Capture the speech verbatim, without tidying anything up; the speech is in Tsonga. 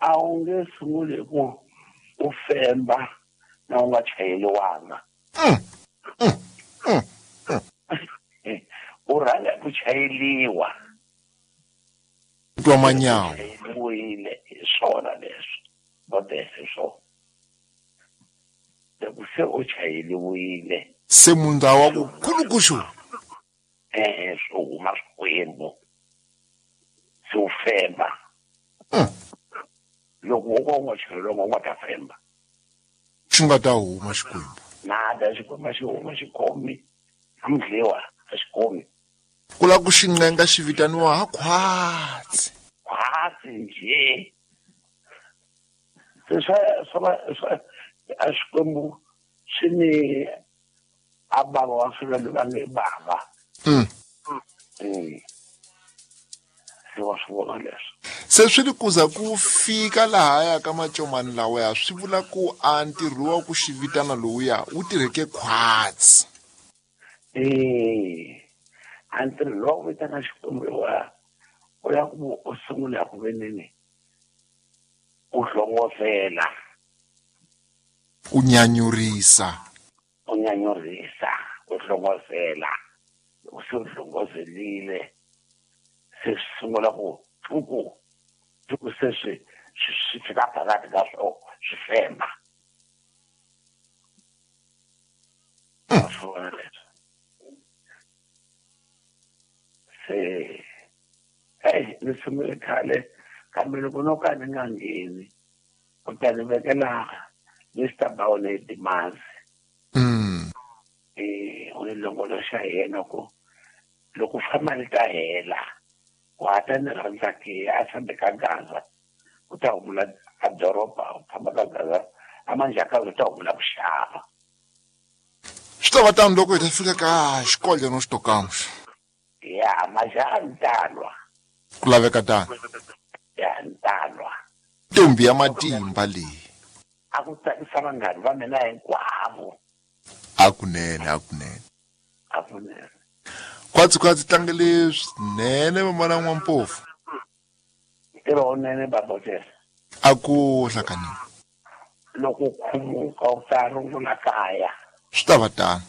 A wu nge sunguli hi ku u femba na u nga chayeliwanga. U rhanga ku chayeliwa. Twa manyawa. Chayeliwile hi swona leswi. Bodese swona. Loko se u chayeliwile. Se mundza wa ku kulukuxu. Eh, swo huma swikwembu. Se u femba. Loko wo ka u nga chayeliwanga u nga ta femba. Xi nga ta huma xikwembu. Nada xikwembu xi huma xikomi. Amdliwa a xikomi. Ku lava ku xi ncenga xi vitaniwa ha khwatsi. Khwatsi njhe. Se swa swa swa a xikwembu xi ni a bava wa swilo va nge bava. Mm. Mm. Se wa swi vona leswi. Se swi ri kuza ku fika lahaya ka macomani lawaya swi vula ku a ntirho wa ku xi vitana lowuya wu tirheke khwatsi. Eh, a ntirho lowu vitana xikwembu wa u ya ku u sungula ku veneni u hlongozela. U nyanyurisa. U nyanyurisa, u hlongozela. U se u hlongozelile. Se sungula ku tuku tuku se swi swi fika phakathi ka swo swi femba. Swona leswi. Se hey, ni sungule khale kambe loko no ka ni nga ngheni u ta ni vekela Mister Baone Dimazi. Mm. Eh, u ni longoloxa hi yena ku loko famba ni ta hela wa ta ni rhandza ke a fambe ka Gaza u ta humula a doroba u famba ka Gaza a manjhaka u ta humula ku xava. Swi ta va tano loko hi ta fika ka xikolelo no xitokamuxa. Ya majaha ntalwa. Ku laveka tano. Ya ntalwa. Ntombi ya matimba leyi. A ku tsakisa vanghana va mina hinkwavo. A kunene, a kunene. A kunene. Khwatsi khwatsi tlangele swinene mamana N'wampofu. Ntirho wunene babotela. A ku hlakanile. Loko u khumuka u ta rungula kaya. Swi ta va tano.